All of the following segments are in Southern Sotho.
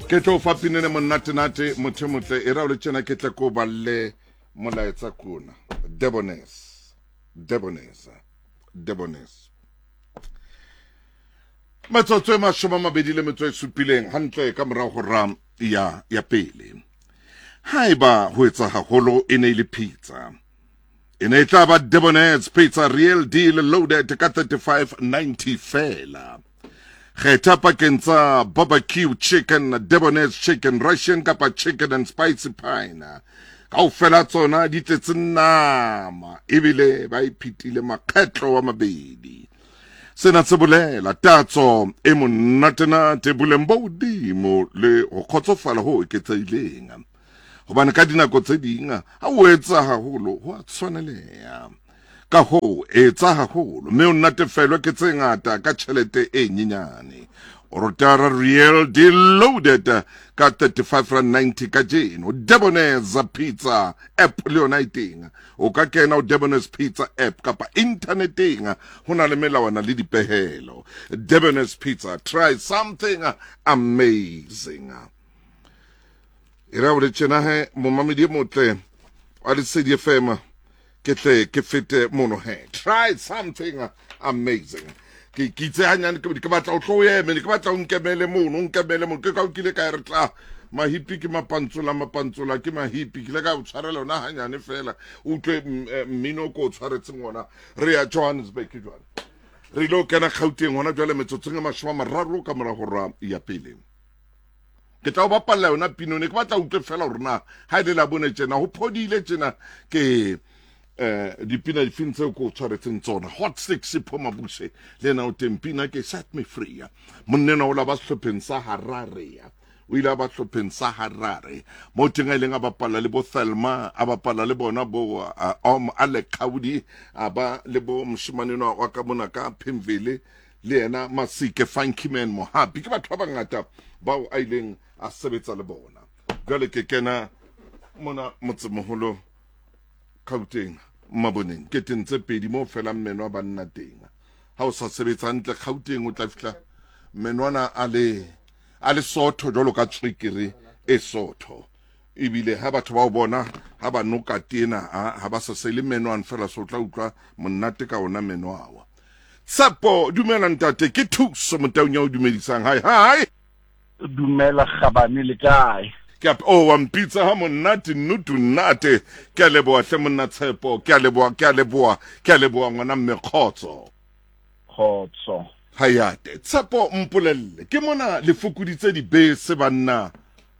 Ke tlo fa pinene monnatenate motho e motle e ra o le tjena ke tle ko balle molaetsa kona. Debonaise. Debonaise. Debonaise. Metsotso e mashome a mabedi le metso e supileng hantle ka morao ho ra ya ya pele. Haeba ho etsa haholo e ne e le pizza. E ne e tla ba Debonaise Pizza Real Deal Loaded ka 35.90 feela. Kgetha pakeng tsa barbecue chicken, Debonaise chicken, Russian kapa chicken and spicy pine. Kaofela tsona di tletse nama ebile ba iphetile makgetlo wa mabedi. Sena se bolela tatso e monatenate, boleng bo hodimo le ho kgotsofala ho eketsehileng. Hobane ka dinako tse ding ha o etsa haholo ho a tshwaneleha. Ka hoo etsa haholo mme o natefelwe ke tse ngata ka tjhelete e nyenyane. Orotara Real Deal Loaded ka R35.90 kajeno. Debonaise Pizza app le yona e teng. O ka kena ho Debonaise Pizza app kapa inthaneteng. Ho na le melawana le dipehelo. Debonaise Pizza, try something amazing. E ra gore tjena he momamedi e motle wa Lesedi FM ke tle ke fete mono he. Try something amazing. Ke ke itse hanyane ke ke batla o tlo o eme, ke batla o nkemele mono, o nkemele mono. Ke ka o kile ka re tla mahipi ke mapantsola, mapantsola ke mahipi. Ke ile ka o tshwarela yona hanyane fela. O utlwe mmino ko o tshwaretseng ona. Re ya Johannesburg jwale. Re ile ho kena Gauteng hona jwale metsotsong e 30 ka mora hora ya pele. Ke tla o bapalla yona pino ne ke batla utlwe fela hore na ha e le la bone tjena ho phodile tjena ke eh dipina difeng tseo ke o tshwaretseng tsona. Hot Six Sipho Mabuse le yena o teng, pina ke Set Me Free. Monnena o la ba sehlopheng sa Harare, o ile a ba sehlopheng sa Harare mo teng a ileng a bapala le bo Thelma, a bapala le bona bo Om Alec Khaudi, a ba le bo moshemane enwa wa ka mona ka Pimville le yena Masike Funky Man Mohapi. Ke batho ba bangata bao a ileng a sebetsa le bona. Jwale ke kena mona motsemoholo Gauteng Maboneng, ke teng tse pedi mo felang meno a banna teng. Ha o sa sebetsa hantle Gauteng o tla fihla menwana a le a le sotho jwalo ka tswekere e sotho. Ebile ha batho ba o bona ha ba noka tena ha ba sa sele menwana fela, so tla utlwa monate ka ona meno awa. Tshepo, dumela ntate, ke Thuso Motaung ya o dumedisang. Hi hi. Dumela Kgabane, le kae? Ke a oh wa mpitsa ha monate nnutu nnate. Ke a leboha hle monna Tshepo, ke a leboha, ke a leboha, ke a leboha ngwana mme kgotso. Kgotso. Hayate. Tshepo mpolelle, ke mona le fokoditse dibese banna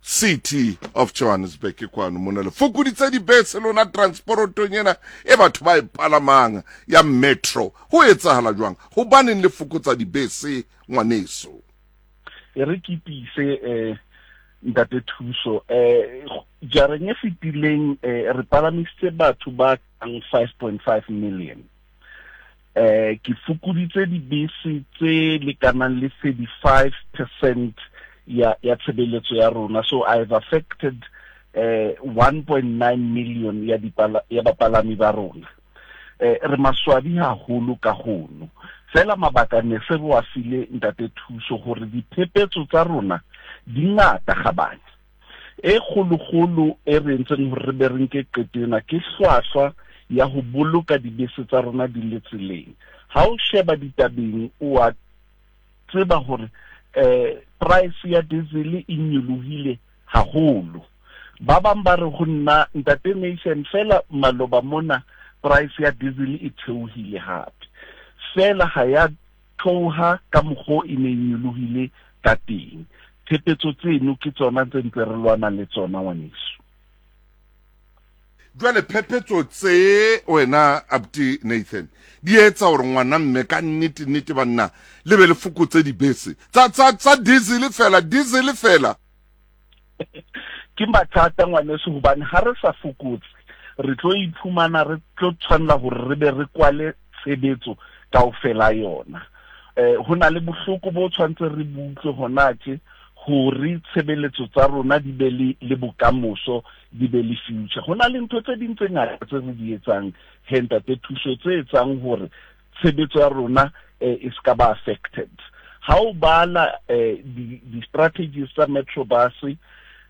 City of Johannesburg ke kwano mona le fokoditse dibese lona transportong ena e batho ba e palamang ya metro. Ho etsahala jwang? Hobaneng le fokotsa dibese ngwaneso? E re ke tiise eh ntate Thuso, eh jareng e fetileng eh re palamisitse batho ba kang 5.5 million. Eh ke fokoditse dibese tse lekanang le 35% ya ya tshebeletso ya rona, so I have affected eh 1.9 million ya dipala ya bapalami ba rona. Eh re maswabi haholo ka hono, fela mabaka ne se re wa file ntate Thuso hore diphephetso tsa rona di ngata gabane. E kgolokgolo e re entseng hore re be re nke qeto ena ke hlwahlwa ya ho boloka dibese tsa rona di le tseleng. Ha o sheba ditabeng o a tseba hore eh price ya diesel e nyolohile haholo. Ba bang ba re ho nna ntate Nation fela maloba mona price ya diesel e theohile hape, fela ha ya theoha ka mokgo e ne e nyolohile ka teng. Phephetso tseno ke tsona tse ntse re lwana le tsona ngwaneso. Jwale phephetso tse wena abuti Nathan di etsa hore ngwana mme ka nnete nnete banna le be le fokotse dibese tsa tsa tsa diesel fela, diesel fela. Ke mathata ngwaneso, hobane ha re sa fokotse re tlo iphumana re tlo tshwanela hore re be re kwale tshebetso kaofela yona. Eh ho na le bohloko bo tshwantse re butlwe hona tje hore tshebeletso tsa rona di be le le bokamoso, di be le future. Ho na le ntho tse ding tse ngata tse re di etsang he ntate Thuso tse etsang hore tshebetso ya rona eh, e ska ba affected. Ha o bala eh, di-strategies tsa Metro Bus,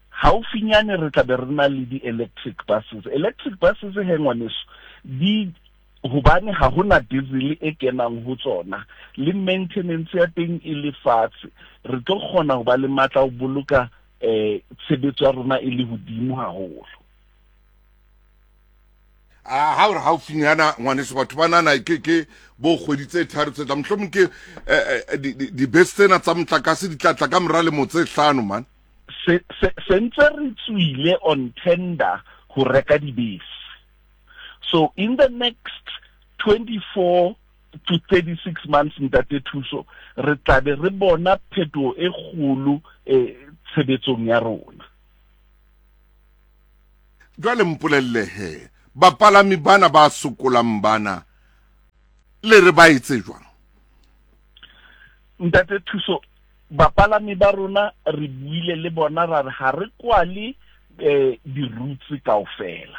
haufinyane re tla be re na le di-electric buses. Electric buses he ngwaneso, di hobane ha hona diesel e kenang ho tsona le maintenance ya teng e le fatshe, re tlo kgona ho ba le matla ho boloka eh tshebetso ya rona e le hodimo haholo. A ha ore haufinyana ngwaneso, batho ba nana ke ke bo kgwedi tse tharo tse tla, mohlomong ke eh, eh, dibese tsena tsa motlakase di tla tla ka mora lemo tse hlano man. Se se ntse re tswile on tender ho reka dibese. So in the next 24 to 36 months, Ntate Thuso, re tla be re bona phetoho e kgolo eh, tshebetsong ya rona. Jwale mpolelle he, bapalami bana ba sokolang bana le re ba etse jwang? Ntate Thuso, bapalami ba rona re buile le bona ra re ha re kwale eh, di-routes kaofela,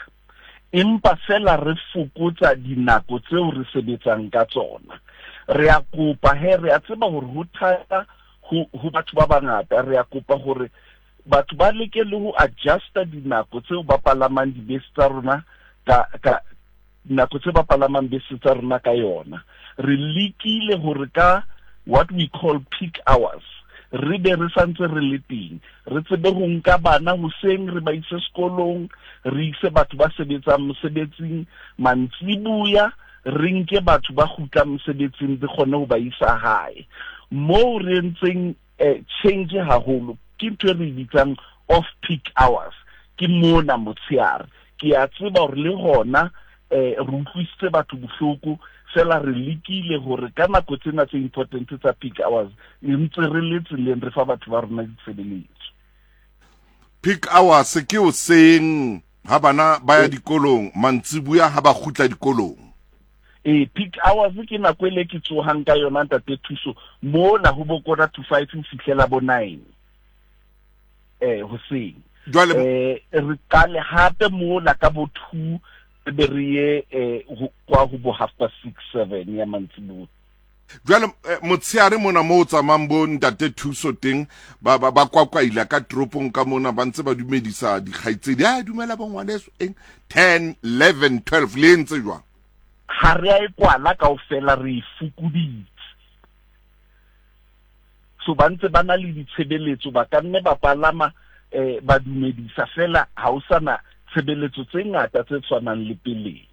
empa fela re fokotsa dinako tseo re sebetsang ka tsona. Re a kopa he, re a tseba hore ho thata ho batho ba bangata, re a kopa hore batho ba leke le ho adjusta dinako tseo ba palamang dibese tsa rona ka ka nako tse ba palamang bese tsa rona ka yona. Re lekile hore ka what we call peak hours re be re santse re le teng, re tsebe ho nka bana hoseng re ba ise sekolong, re ise batho ba sebetsang mosebetsing mantsibuya, re nke batho ba kgutlang mosebetsing re kgone ho ba isa hae. Moo re entseng eh, change haholo ke ntho e re e bitsang off peak hours, ke mona motshehare. Ke a tseba hore le hona eh re utlwisitse batho bohloko, fela re lekile hore ka nako tsena tse important tsa peak hours ntse re le tseleng re fa batho ba rona ditshebeletso. Peak hours ke hoseng ha bana ba ya dikolong, mantsibuya ha ba kgutla dikolong. Ee, peak hours ke nako e le ke tsohang ka yona, Ntate Thuso, mona ho bo 4:45 ho fihlela bo 9 eh hoseng. Jwale eh re qale hape mola ka bo 2 re be re ye eh kwa ho bo 6:30 7 ya mantsibuya. Jwale eh, motshehare mona mo o tsamayng bo Ntate Thuso teng, ba ba ba kwakwaila ka toropong ka mona, ba ntse ba dumedisa dikgaitsedi, a dumela bo ngwaneso eng 10 11 12, le entse jwang? Ha re a e kwala kaofela, re e fokoditse. So ba ntse ba na le ditshebeletso, ba ka nne ba palama eh ba dumedisa fela, ha o sana tshebeletso tse ngata tse tshwanang le peleng.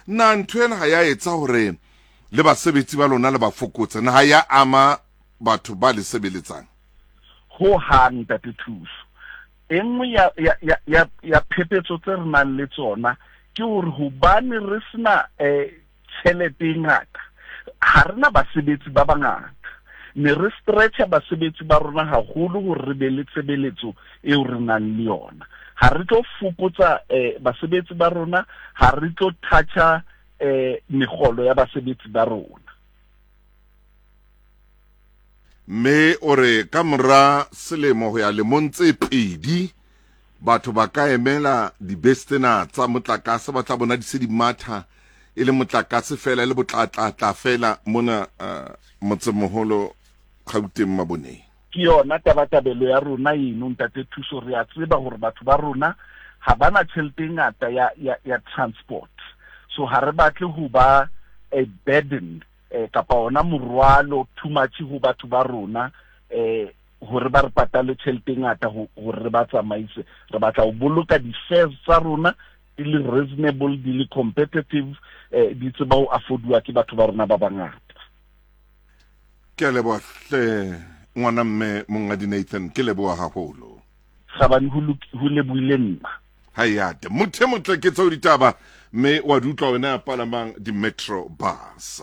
Na ntho ena ha ya etsa hore le basebetsi ba lona le ba fokotse? Na ha ya ama batho ba le sebeletsang? Ho hang, Ntate Thuso. E nngwe ya, ya, ya, ya, ya phephetso tse re nang le tsona ke hore hobane re sena eh, tjhelete e ngata, ha re na basebetsi ba bangata. Ne re stretcha basebetsi ba rona haholo hore re be le tshebeletso eo re nang le yona. Ha re tlo fokotsa eh, basebetsi ba rona, ha re tlo toucha eh, megolo ya basebetsi ba rona. Mme o re ka mora selemo ho ya lemong tse pedi, batho ba ka emela dibese tsena tsa motlakase, ba tla bona di se di matha e le motlakase fela, e le botlatlatla fela mona uh, motsemoholo Gauteng Maboneng. Ke yona tabatabelo ya rona eno, Ntate Thuso. Re a tseba hore batho ba rona ha ba na tjhelete e ngata ya, ya, ya transport, so ha re batle ho ba a burden eh, kapa ona morwalo too much ho batho ba rona eh hore ba re patale tjhelete e ngata hore re ba tsamaise. Re batla ho boloka di-fares tsa rona di le reasonable, di le competitive, eh, di tseba ho afforduwa ke batho ba rona ba bangata. Ke a leboha hle ngwana mme Monghadi Nathan, ke leboha haholo. Gabane, ho lebohile nna. Hayate motho e motle ke tseo ditaba, mme wa di utlwa wena ya palamang di-metro bus.